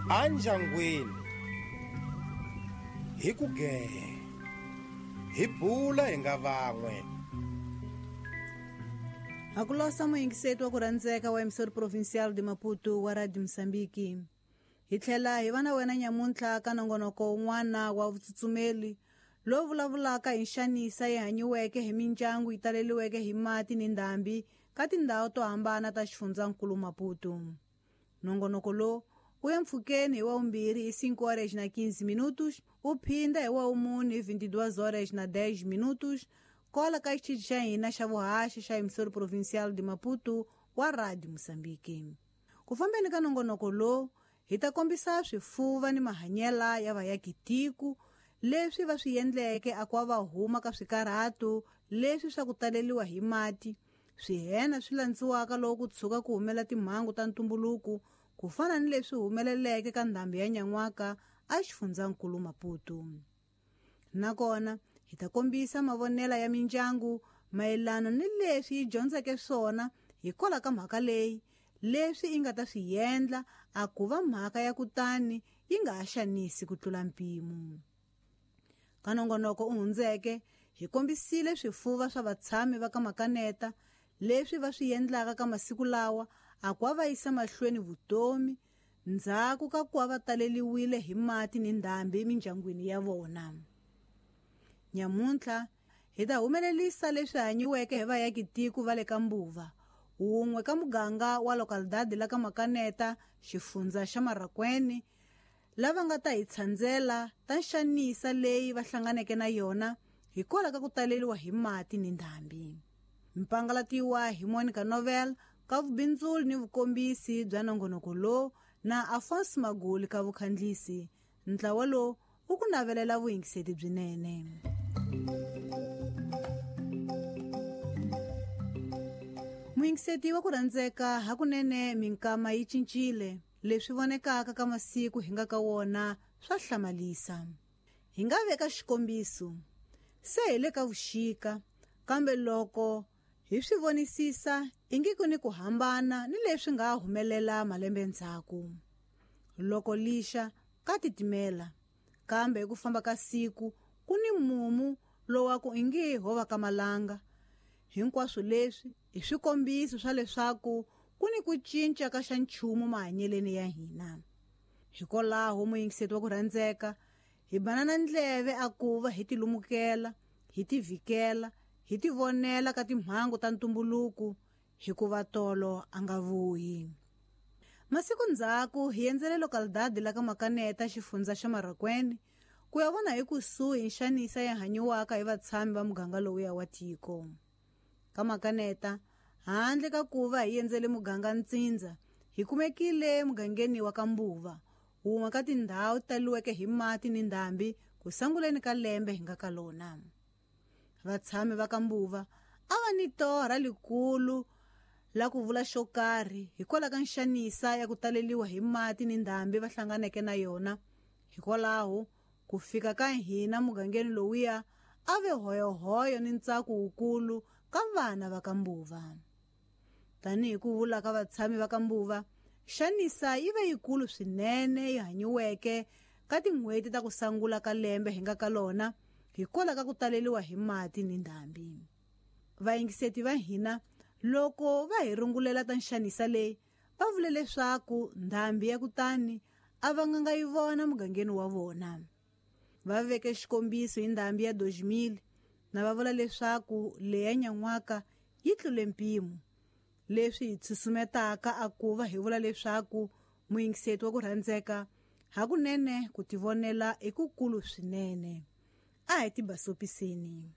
Anjangwini hi ku gee hi bula hi nga van'we. Hakulosa muyingiseti wa ku rhandzeka wa Emissora Provincial de Maputo wa Radio Mozambique. Hi tlhela hi va na wena nyamuntlha ka nongonoko wun'wana wa vutsutsumeli lowu vulavulaka hi nxanisa yi hanyiweke hi mindyangu yi taleliweke hi mati ni ndhambi ka tindhawu to hambana ta xifundzankulu Maputo. Nongonoko lowu wu ya mpfhukeni hi wavumbirhi hi 5 horas na 15 minutos, wu phinda hi wavumune hi 22 horas na 10 minutos, kola ka xitichi xa hina xa vuhaxi xa Emissora Provincial de Maputo wa Radio Mozambique. Ku fambeni ka nongonoko lowu hi ta kombisa swifuva ni mahanyela ya vayakitiko leswi va swi endleke a ku va huma ka swikarhato leswi swa ku taleliwa hi mati, swihena swi landziwaka loko ku tshuka ku humela timhangu ta ntumbuluko ku fana ni leswi humeleleke ka ndhambi ya nyan'waka a xifundzankulu Maputo. Nakona hi ta kombisa mavonela ya mindyangu mayelana ni leswi yi dyondzeke swona hikwalaho ka mhaka leyi, leswi yi nga ta swi endla a ku va mhaka ya kutani yi nga ha xanisi ku tlula mpimo. Ka nongonoko u hundzeke hi kombisile swifuva swa vatshami va ka Makaneta leswi va swi endlaka ka masiku lawa a ku va yisa mahlweni vutomi ndzhaku ka ku va taleliwile hi mati ni ndhambi emindyangwini ya vona. Nyamuntlha hi ta humelelisa leswi hanyiweke hi vayakitiko va le ka Mbuva, wun'we ka muganga wa localidade la ka Makaneta, xifundza xa Marracuene, lava nga ta hi tshandzela ta nxanisa leyi va hlanganeke na yona hikwalaho ka ku taleliwa hi mati ni ndhambi. Mpangalatiwa hi Monica Novel ka vubindzuli ni vukombisi bya nongonoko lowu na Afonso Maguli ka vukhandlisi. Ntlawa lowu wu ku navelela vuyingiseti byinene. Muyingiseti wa ku rhandzeka hakunene minkama yi cincile, leswi vonekaka ka masiku hi nga ka wona swa hlamalisa. Hi nga veka xikombiso, se hi le ka vuxika, kambe loko hi swi vonisisa ingi ku ni ku hambana ni leswi nga humelela malembe ndzhaku. Loko lixa ka titimela, kambe hi ku famba ka siku ku ni mumu lowa ku ingi ho va ka malanga. Hinkwaswo leswi i swikombiso swa leswaku ku ni ku cinca ka xa nchumu mahanyeleni ya hina. Hikwalaho muyingiseti wa ku rhandzeka hi banana ndleve a ku va hi tilumukela, hi tivhikela, hi tivonela ka timhangu ta ntumbuluko hikuva tolo a nga vuyi. Masiku ndzhaku hi endzele localidade la ka Makaneta, xifundza xa Marracuene, ku ya vona hi kusuhi nxanisa ya hanyiwaka hi vatshami va muganga lowuya wa tiko. Ka Makaneta, handle ka ku va hi endzele muganga ntsindza, hi kumekile mugangeni wa ka Mbuva, wun'we ka tindhawu taliweke hi mati ni ndhambi ku sanguleni ka lembe hi nga ka lona. Vatshami va ka Mbuva a va ni torha likulu la ku vula xo karhi hikwalaho ka nxanisa ya ku taleliwa hi mati ni ndhambi va hlanganeke na yona. Hikwalaho ku fika ka hina mugangeni lowuya a ve hoyohoyo ni ntsako wukulu ka vana va ka Mbuva. Tanihi ku vula ka vatshami va ka Mbuva, xanisa yi ve yikulu swinene yi hanyiweke ka tin'hweti ta ku sangula ka lembe hi nga ka lona hikwalaho ka ku taleliwa hi mati ni ndhambi. Vayingiseti va hina loko va hi rungulela ta nxanisa leyi, va vule leswaku ndhambi ya kutani a va nga yi vona mugangeni wa vona. Va veke xikombiso hi ndhambi ya 2000 na va vula leswaku leya nyan'waka yi tlule mpimo, leswi hi tsusumetaka a ku va hi vula leswaku muyingiseti wa ku rhandzeka hakunene ku tivonela i kukulu swinene. A hi tibasopiseni.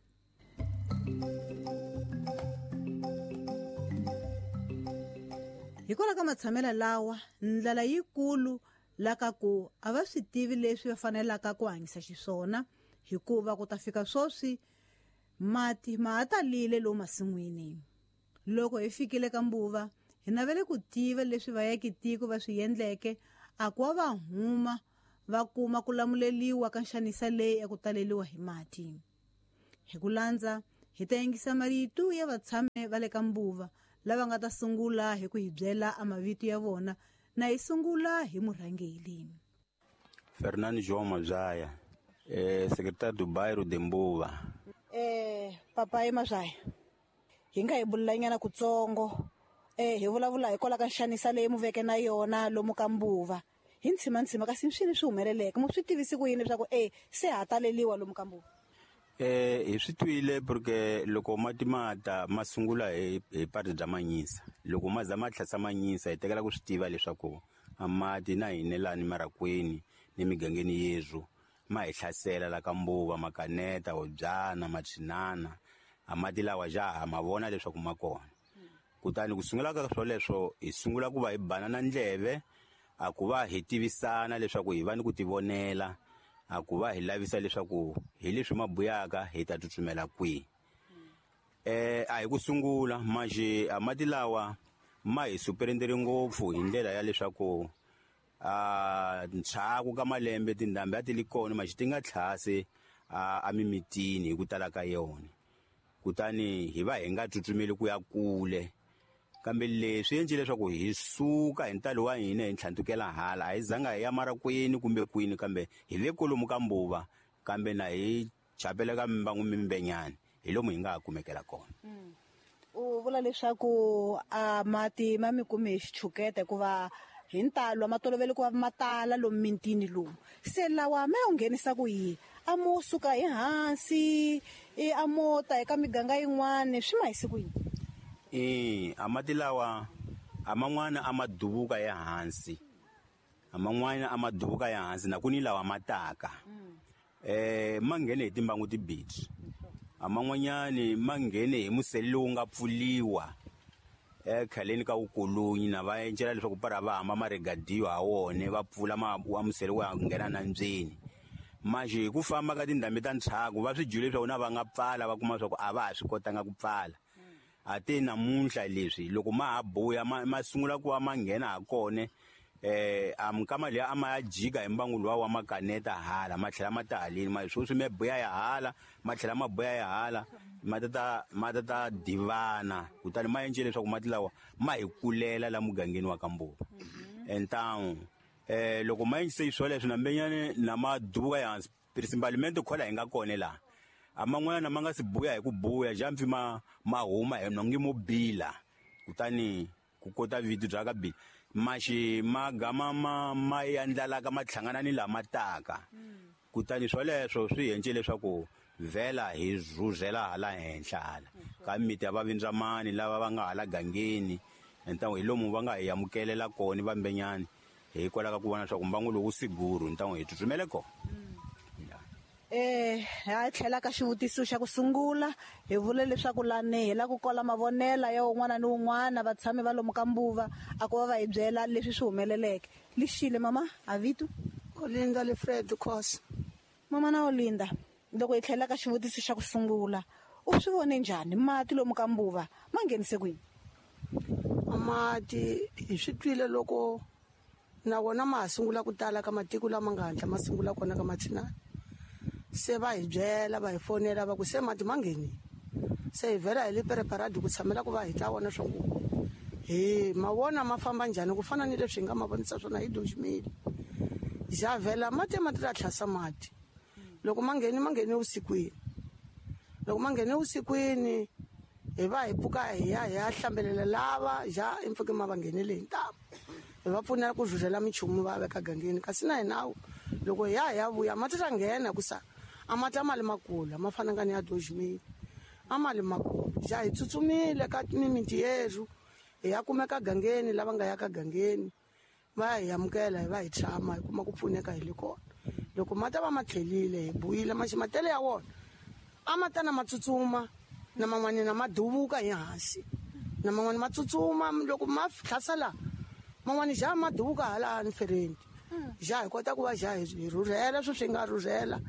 Hikwalaho ka matshamelo lawa, ndlala yikulu la ka ku a va swi tivi leswi va fanelaka ku hanyisa xiswona, hikuva ku ta fika swoswi mati ma ha talile lomu masin'wini. Loko hi fikile ka Mbuva, hi navele ku tiva leswi vayakitiko va swi endleke a ku va huma va kuma ku lamuleliwa ka nxanisa leyi ya ku taleliwa hi mati. Hi ku landza hi ta yingisa marito ya vatshami va le ka Mbuva lava nga ta sungula hi ku hi byela a mavito ya vona Na hi sungula hi murhangeli. Fernando João Mazaya, secretário do bairro de Mbuva. Papai Mazaya, hi nga hi bulanyana kutsongo. Hi vulavula hi kwala ka nxanisa leyi mu veke na yona lomu ka Mbuva. Hi ntshima kasi swini swi humeleleke, mu swi tivisi ku yini leswaku se ha taleliwa lomu ka Mbuva? Hi swi twile porque loko mati ma ta ma sungula hi pati bya Manyisa. Loko ma za ma tlhasa Manyisa hi tekela ku swi tiva leswaku a mati na hina lani marakweni ni migangeni yezwo ma hi hlasela la ka Mbuva, Makaneta, Hobyana, Machinana. A mati lawa jaha ma vona leswaku ma kona. Kutani ku sungula ka swoleswo hi sungula ku va hi banana ndleve, a ku va hi tivisana leswaku hi va ni ku tivonela, a ku va hi lavisa leswaku hi leswi mabuyaka hi ta tsutsumela kwihi. A hi ku sungula manje a mati lawa ma hi superendere ngopfu hi ndlela ya leswaku a ntshaku ka malembe tindhambi a ti li kona manje ti nga tlhase a mimitini hi ku tala ka yona. Kutani hi va hi nga tsutsumeli ku ya kule. Kambe leswi endle leswaku hi suka hi ntalo wa hina hi ntlhantukela hala, a hi zanga hi ya marakwini kumbe kwini, kambe hi ve kolomu ka Mbuva, kambe na hi chapela ka mimbangu mimbenyani hi lomu hi nga ha kumekela kona. U vula leswaku a mati ma mi kume hi xichuketa hikuva hi ntalo ma tolovele ku va ma tala lomu mintini lomu. Se lawa ma ya nghenisa ku yini? A mo suka hi hansi, a mo ta eka miganga yin'wana, swi ma hisi ku yini? A mati lawa a man'wana a ma duvuka ya hansi, a man'wana a ma duvuka ya hansi na ku ni lawa ma taka. Ma nghene hi timbangu tibirhi. A man'wanyani ma nghene hi musele lowu nga pfuliwa ekhaleni ka vukolonyi, na va encela leswaku para va hamba ma regadiwa ha wona, va pfula ma wa musele wa nghena nandzeni. Manje hi ku famba ka tindhambi ta ntshaku va swi dyile leswaku na va nga pfala, va kuma leswaku a va ha swi kotanga ku pfala. A te namuntlha leswi loko ma ha buya ma sungula ku va ma nghena ha kona, a minkama liya a ma ya jika hi mbangu luwa wa Makaneta hala, ma tlhela ma ta haleni, ma sweswi ma buya ya hala, ma tlhela ma buya ya hala, ma ta divana. Kutani ma endle leswaku mati lawa ma hi kulela la mugangeni wa ka Mbuva. Então loko ma endlise swoleswo na mbenyane na ma duvuka ya hansi, principalmente khola hi nga kona laha. A man'wana ma nga si buya hi ku buya, jampfi ma huma hi nongi mo bila. Kutani ku kota vito bya ka bila. Maxi ma gama ma yandlalaka ma tlhangana ni lama taka. Kutani swoleswo swi endle leswaku vhela hi rhurhela hala henhla hala ka miti ya vavindzamani lava va nga hala gangeni. Ntango hi lomu va nga hi amukelela kona vambenyani, hikwalaho ka ku vona leswaku mbangu lowu wu siguru, ntango hi tsutsumele kona. Ha tlhela ka xivutiso xa ku sungula, hi vule leswaku lani hi la ku kola mavonela ya un'wana ni un'wana vatshami va lomu ka Mbuva, a ku va va hi byela leswi swi humeleleke. Lixile mama, a vito? Olinda Lefred Khosa. Mama na Olinda, loko hi tlhela ka xivutiso xa ku sungula, u swi vone njhani mati lomu ka Mbuva ma nghenise kwini? Mati hi swi twile loko na wona ma ha sungula ku tala ka matiko lama nga hatla ma sungula kona ka Machinana. Se va hi byela, va hi fonela va ku se mati ma nghenile. Se hi vhela hi le preparadi ku tshamela ku va hi ta vona swa ku hi ma vona ma famba njhani, ku fana ni leswi hi nga ma vonisa swona hi Dojimile. Ja vhela mati ma ta tlhasa mati. Loko ma ngheni, ma nghene vusikwini. Loko ma nghene vusikwini hi va hi pfuka hi ya hi ya hlambelela lava ja impfuke ma va nghenele hi ntamu. Hi va pfunela ku rhurhela minchumu va veka gangeni, kasi na hina loko hi ya hi ya vuya mati ta nghena ku sa a mati a ma li makulu, a ma fananga ni ya Dojimile, a ma li makulu. Ja hi tsutsumile ka mimiti yerhu hi ya kumeka gangeni, lava nga ya ka gangeni va hi amukela, hi va hi tshama hi kuma ku pfuneka hi le kona. Loko mati va ma tlhelile hi buyile, maxi matele ya wona a ma ta na ma tsutsuma, na man'wana na ma duvuka hi hansi, na man'wana ma tsutsuma loko ma tlhasela, man'wana ja ma duvuka hala nfereni. Ja hi kota ku va ja hi rhurhela sweswi swi nga rhurhela,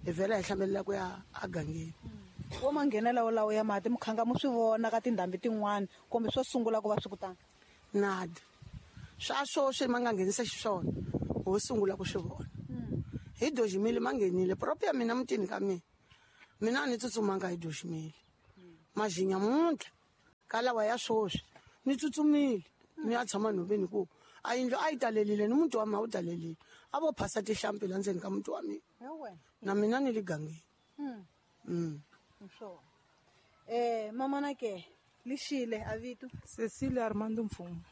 hi vhela hi hlambelela ku ya agangeni. Wo ma nghenela wolawo ya mati mukhanga mu swi vona ka tindhambi tin'wana kumbe swo sungula ku va swi kutani? Nada. Swa sweswi ma nga nghenisa xiswona, ho sungula ku swi vona. Hi Dojimile ma nghenile, propo ya mina mutini ka mina. Mina a ni tsutsumanga hi Dojimile. Majinya muntlha ka lawa ya sweswi ni tsutsumile ni ya tshama nhoveni ku A yindlu a yi talelile ni muti wa mina wu talelile. A vo phasa tihlampfi la ndzeni ka muti wa mina. Na mina ni le gangeni. Mamana ke lixile a vito Cecilia Armando Mfumo.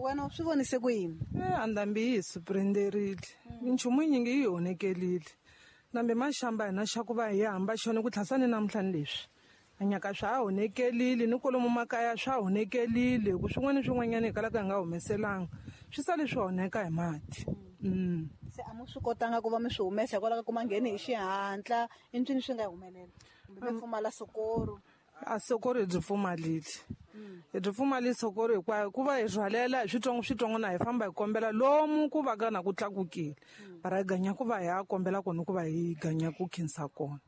Wena u swi vonise ku yini? Andambi yi hi suprenderile. Minchumu yinyingi yi honekelile. Nambe maxamba hina xa ku va hi hamba xona ku tlhasa ni namuntlha ni leswi. Anyaka swa ha honekelile ni kwalomu makaya swa honekelile ku swin'wana swin'wanyana hi kalaka hi nga humeselanga. Swi sale swi honeka hi mati. Se a mu swi kotanga ku va mi swi humesa hikwalaho ka ku ma ngheni hi xihatla, i ncini swi nga humelela? Kumbe mi pfumala sokoro? A sokoro hi byi pfumalile. Hi byi pfumalile sokoro hinkwayo ku va hi rhwalela hi switsongo switsongo na hi famba hi kombela lomu ku va ka na ku tlakukile. Para hi ganya ku va hi ya kombela kona ku va hi ganya ku khensa kona.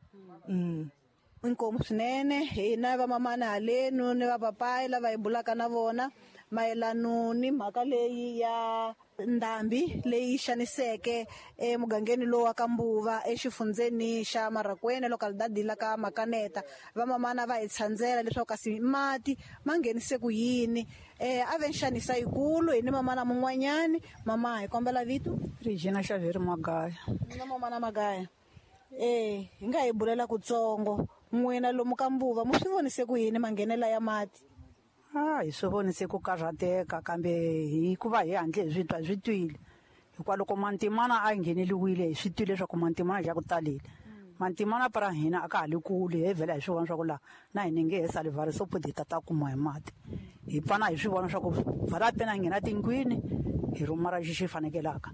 Inkomu swinene hina vamamana halenu ni vapapayi lava hi bulaka na vona mayelano ni mhaka leyi ya ndhambi leyi xaniseke emugangeni lowu wa ka Mbuva exifundzeni xa Marracuene localidade la ka Makaneta. Vamamana va hi tshandzela leswaku kasi mati ma nghenise ku yini. A ve nxanisa yikulu hi ni mamana mun'wanyani. Mama, hi kombela vito? Regina Xaveri Magaya. Na mamana Magaya. Hi nga hi bulela kutsongo n'wina lomu ka Mbuva mu swi vonise ku yini manghenela ya mati? Hi swi vonise ku karhateka kambe hikuva hi handle hi swi twa hi swi twile. Hikuva loko mantimana a ngheneliwile hi swi twile leswaku mantimana xa ku talile. Mantimana para hina a ka ha le kule hi vhela hi swi vona swa ku laha na hina nge he sali vhari so hi ta ta kuma hi mati. Hi pfana hi swi vona swa ku vhara pena hi nghena tindlwini hi rhumara xi xi fanekelaka.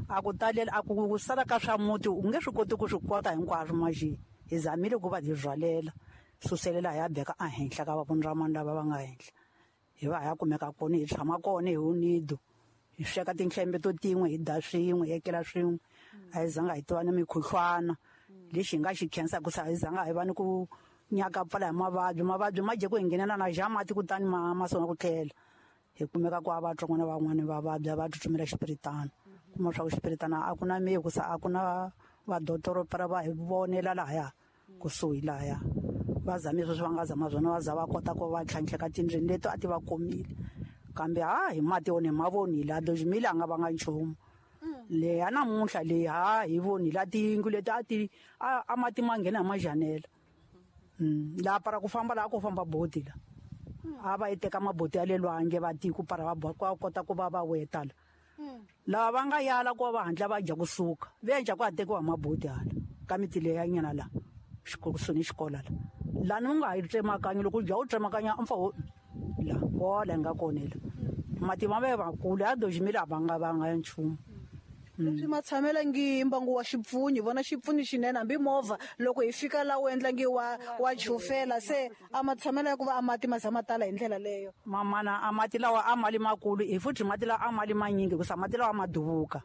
A ku talele a ku sala ka swa muti u nge swi koti ku swi kota hinkwaswo maxi. Hi zamile ku va hi rhwalela suselela hi ya beka ehenhla ka vavunramani lava va nga henhla. Hi va hi ya kumeka kona hi tshama kona hi unido. Hi sweka tinhlembe to tin'we hi dya swin'we hi etlela swin'we. A hi zanga hi tiva ni mikhuhlwana. Lexi hi nga xi khensaka ku sa hi zanga hi va ni ku nyaka pfala hi mavabyi. Mavabyi ma dye ku hi nghenela na ja mati kutani ma sungula ku tlhela. Hi kumeka ku a va twa n'wana van'wani va vabya va tsutsumela xipiritana. Kuma swa ku xipiritana a ku na mirhi ku sa a ku na vadotoro para va hi vonela lahaya kusuhi lahaya. Va zame sweswi va nga zama swona va za va kota ku va tlhantlheka tindlwini leti a ti va komile. Kambe hi mati wona hi ma vonile a dojimile a nga vanga nchumu. Leya namuntlha leyi hi vonile a tiyindlu leti a ti a mati ma nghena hi majanela. Laha para ku famba laha ku famba boti la. A va yi teka maboti ya le lwandle va tiko para va kota ku va va weta la. Lava va nga yala ku va hatla va dya kusuka. Va endla ku ha tekiwa maboti hala ka miti leya nyana la. Xikolo ni xikolo la. Lani u nga ha yi tsemakanyi loko u dya u tsemakanya mpfa wo la wala nga kona la. Mati ma ve vakulu ya dojimile a va nga vanga ya nchumu. Leswi ma tshamela ngi mbangu wa xipfunyi, vona xipfunyi xinene hambi movha loko hi fika la wu endla ngi wa chufela se a ma tshamela ya ku va a mati ma za ma tala hi ndlela leyo. Mamana a mati lawa a mali makulu hi futhi mati lawa a mali manyingi ku sa mati lawa ma duvuka.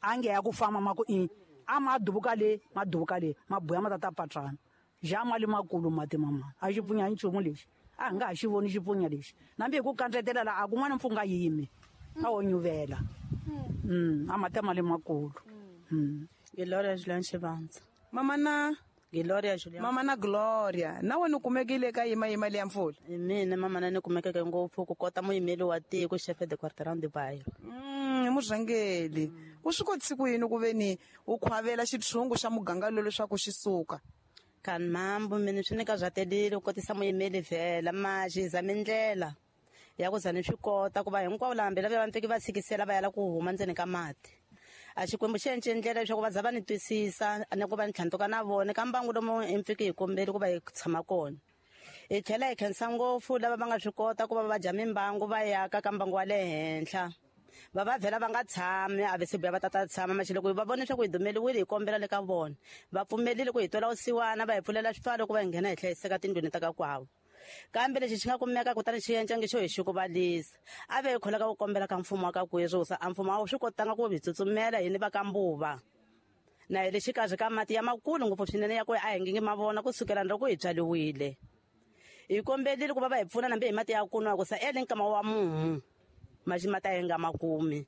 A nge ya ku famba ma ku i a ma duvuka le ma duvuka le ma buya ma ta patrana. Ja mali makulu mati mama a xipfunya nchumu lexi. A nga ha xi voni xipfunya lexi. Nambi hi ku kandzetela la a kun'wana mpfunga yimi. A wo nyuvela. A mati mali makulu. Gloria Julian Xivandza. Mama na Gloria Julian. Mama na Gloria. Na wena u kumekile ka yima yima leya mpfula? Mina mama na ni kumekeke ngopfu ku kota muyimeli wa tiko chef de quartier de Bayo. Murhangeli. U swi kotise ku yini ku ve ni u khwavela xitshungu xa muganga lowu leswaku xi suka? Kan mambo mina swi ni ka byatelile ku kotisa muyimeli vhela ma xiza mindlela ya ku za ni swi kota ku va hinkwavo laha hambi lava va fiki va tshikisela va yala ku huma ndzeni ka mati. A xikwembu xi endle ndlela leswaku va za va ni twisisa ni ku va ni tlhantuka na vona ka mbangu lomu hi fiki hi kombeli ku va hi tshama kona. Hi tlhela hi khensa ngopfu lava va nga swi kota ku va va dya mimbangu va yaka ka mbangu wa le henhla. Va va vhela va nga tshami a ve se vuya va tata tshama maxi loko va vona leswaku hi dumeliwile hi kombela le ka vona. Va pfumelile ku hi twela vusiwana va hi pfulela swipfalo ku va hi nghena hi hlayiseka tindlwini ta ka kwavo. Kambe lexi xi nga kumeka kutani xi endla nge xo hi xukuvalisa. A ve hi kholaka ku kombela ka mfumo wa ka Kwezwo, a mfumo a wu swi kotanga ku hi tsutsumela hini va ka Mbuva. Na hi le xikarhi ka mati ya makulu ngopfu swinene ya ku a hi nge ma vona kusukela loko hi tswariwile. Hi kombelile ku va va hi pfuna nambe hi mati ya ku nwa ku sa ele nkama wa mumu. Maxi mati a hi nga ma kumi.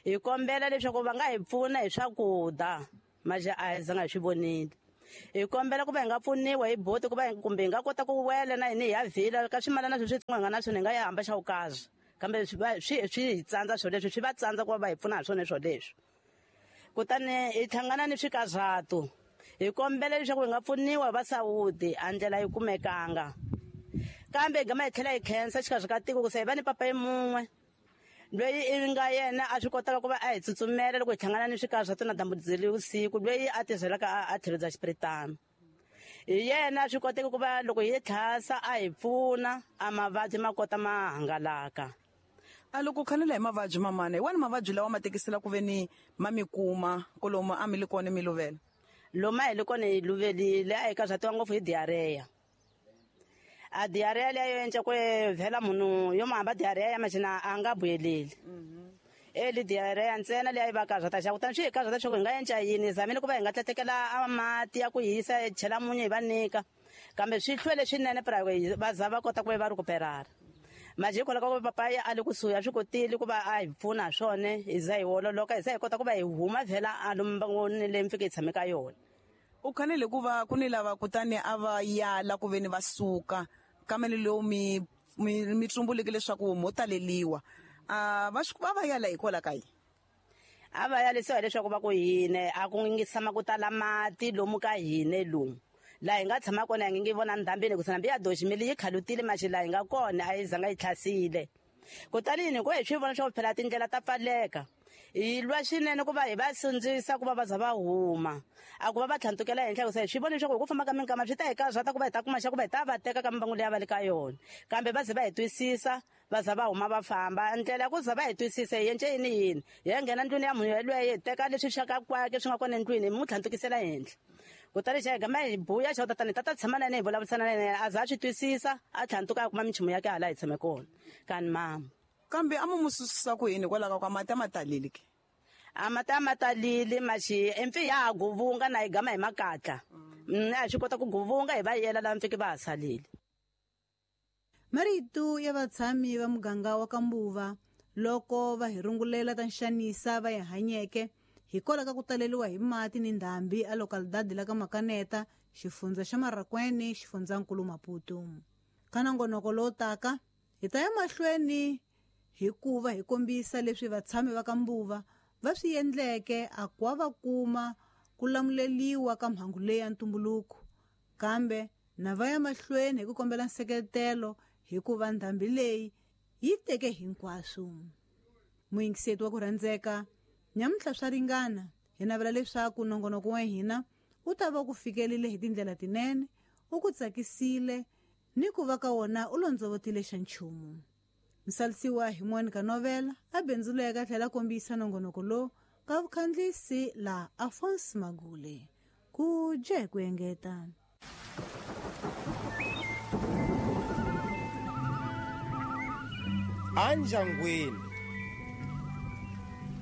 Hi kombela leswaku va nga hi pfuna hi swakudya, maxi a hi zanga hi swi vonile. Hi kombela ku va hi nga pfuniwa hi boti ku va kumbe hi nga kota ku wela na hina hi ya vhila ka swimalana sweswi switsongo hi nga na swona hi nga ya hamba xa vukazi. Kambe swi hi tsandza swilo leswi, swi va tsandza ku va va hi pfuna hi swona swilo leswi. Kutani hi hlangana ni swikazatu, hi kombela leswaku hi nga pfuniwa va Saudi, a ndlela yi kumekanga. Kambe hi gama hi tlhela hi khensa xikarhi ka tiko ku se hi va ni papa mun'we loyi i nga yena a swi kotaka ku va a hi tsutsumela loko hi hlangana ni swikazatu na dyambu vusiku, loyi a tirhelaka a tlhelo bya xipiritano. Hi yena a swi koteka ku va loko hi tlhasa a hi pfuna, a mavabyi ma kota ma hangalaka. A loko khanela hi mavabyi mamana, hi wani mavabyi lawa ma tekisela ku ve ni ma mi kuma kolomu a mi le kona mi luvela? Lomu a hi le kona hi luvelile, a hi karhatiwa ngopfu hi diarrhea. A diarrhea leyo endla ku vhela munhu yo hamba diarrhea ya machina a nga vuyeleli. Eli diarrhea ntsena leyi va karhata xa kutani swi hi karhata swa ku hi nga endla yini, zamile ku va hi nga tlatekela a mati ya ku hisa hi chela munyu hi va nyika, kambe swi hlwele swinene pra va za va kota ku va recuperara. Manje hikwalaho ka ku papa ya a le kusuhi a swi kotile ku va a hi pfuna swona, hi za hi ololoka, hi za hi kota ku va hi huma vhela a lomu mbangoni leyi mi fike hi tshame ka yona. U khanele ku va ku ni lava kutani a va yala ku ve ni va suka kambe lowu mi tsumbuleke leswaku mo taleliwa, a va va yala hikwalaho ka yini? A va yalisiwa hileswaku va ku hine a ku ngi tshama ku tala mati lomu ka hine lomu laha hi nga tshama kona hi ngi vona ndhambini ku nambi ya doximili yi khalutile maxi laha hi nga kona a yi zanga yi tlhasile. Kutani ni ku hi swi vona swa ku phela tindlela ta pfaleka, hi lwa swinene ku va hi va sindzisa ku va va za va huma, a ku va va tlhantukela henhla ku se hi swi vona leswaku hi ku famba ka minkama swi ta hi karhata ku va hi ta kuma xa ku va hi ta va teka ka mimbangu leyi a va le ka yona, kambe va ze va hi twisisa va za va huma va famba. Ndlela ya ku za va hi twisisa hi endle yini yini, hi ya nghena ndlwini ya munhu yelweyo hi teka leswi swa ka kwake swi nga kona endlwini hi n'wi tlhantukisela henhla. Kutani xa hi gama hi buya xa tatana hi tata tshama na yena hi vulavurisana na yena, a za a swi twisisa a tlhantuka a kuma minchumu ya ke hala hi tshame kona kani mama. Kambe a mu susa ku yini hikwalaho ka mati a ma talile ke? A mati a ma talile maxi empfi ya ha guvunga na hi gama hi makatla. A swi kota ku guvunga hi va yela laha mpfike va ha salile. Marito ya vatshami va muganga wa ka Mbuva loko va hi rungulela ta nxanisa va yi hanyeke hikwalaho ka ku taleriwa hi mati ni ndhambi a localidade la ka Makaneta, xifundza xa Marracuene, xifundzankulu Maputo. Ka nongonoko lowu taka hi ta ya mahlweni hikuva hi kombisa leswi vatshami va ka Mbuva va swi endleke a kwa va kuma ku lamuleliwa ka mhangu leyi ya ntumbuluko, kambe na va ya mahlweni hi ku kombela nseketelo hikuva ndhambi leyi yi teke hinkwaswo. Muyingiseti wa ku rhandzeka, nyamuntlha swa ringana, hi navela leswaku nongonoko wa hina wu ta va ku fikelile hi tindlela tinene, wu ku tsakisile ni ku va ka wona u londzovotile xa nchumu. Msalisiwa hi Monica Novela a bindzuleka tlhela kombisa nongonoko lowu ka vukhandlisi la Alphonse Magule. Ku dye ku engeta. Anjangwini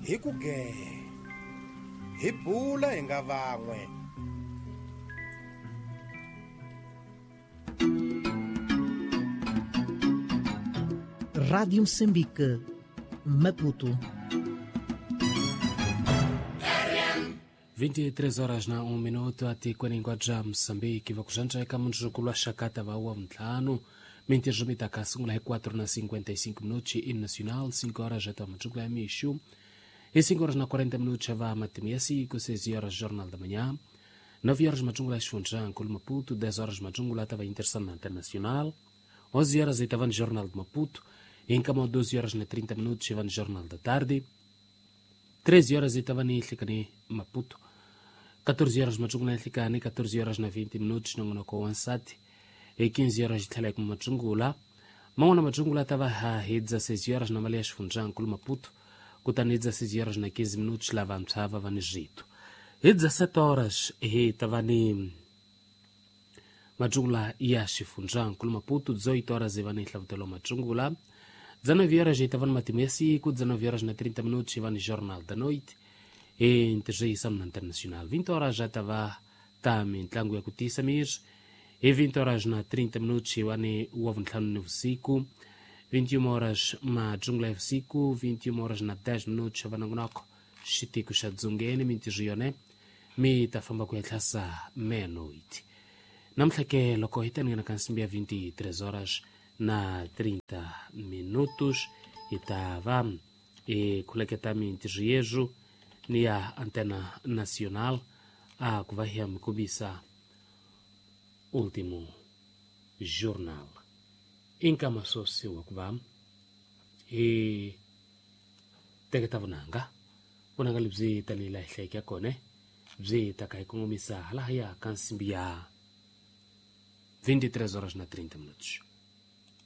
hi ku gee, hi bula hi nga van'we. Rádio Moçambique, Maputo. 23 horas na 1 minuto atikweni hinkwabyo bya Moçambique va ku zvantswa eka mundzuku lwa xakata va wa vuntlhanu mintirho mi ta ka sungula hi 4:55 minutos in nacional 5 horas já ta mundzuku ya mixo hi 5 horas na 40 minutos va matimu ya siku 6 horas jornal da manhã 9 horas madjungula xifundza nkulu Maputo 10 horas madjungula ta va interessante internacional 11 horas e tava no Jornal de Maputo, em cama 12 horas na 30 minutos e no Jornal da Tarde, 13 horas e tava em Maputo, 14 horas Majungula em 14 horas na 20 minutos no Ansati, e 15 horas de Tele com Majungula, Mangona Majungula tava a 16 horas na Malias Funjan, Kulu Maputo, kutani 16 horas na 15 minutos lá vamtsava va Egito. E 17 horas e tava ni Majungula ya xifundza nkulu Maputo, 18 horas e va ni hlavutelo Majungula, 19 horas e tava no matimu ya siku, 19 horas na 30 minutos e va ni Jornal da Noite, e ntirhisa na Internacional. 20 horas já tava ta mintlangu ya ku tiyisa miri, e 20 horas na 30 minutos e va ni wa vuntlhanu ni vusiku, 21 horas Majungula ya vusiku, 21 horas na 10 minutos va nongonoko xitiko xa dzongeni mintirho yone mi ta famba ku ya tlhasa meia-noite. Namuntlha ke loko hi ta nghena ka nsimbi ya 23 horas na 30 minutos Hi ta va hi khuleketa mintirho yezwu ni ya Antena Nacional a ku va hi ya mi kombisa Último Jornal. I nkama swoswi wa ku va hi teketa vunanga, vunanga lebyi tanihi laha hi hlayeke ya kona byi ta ka hi kongomisa halahaya ka nsimbi ya 23 horas na 30 minutos.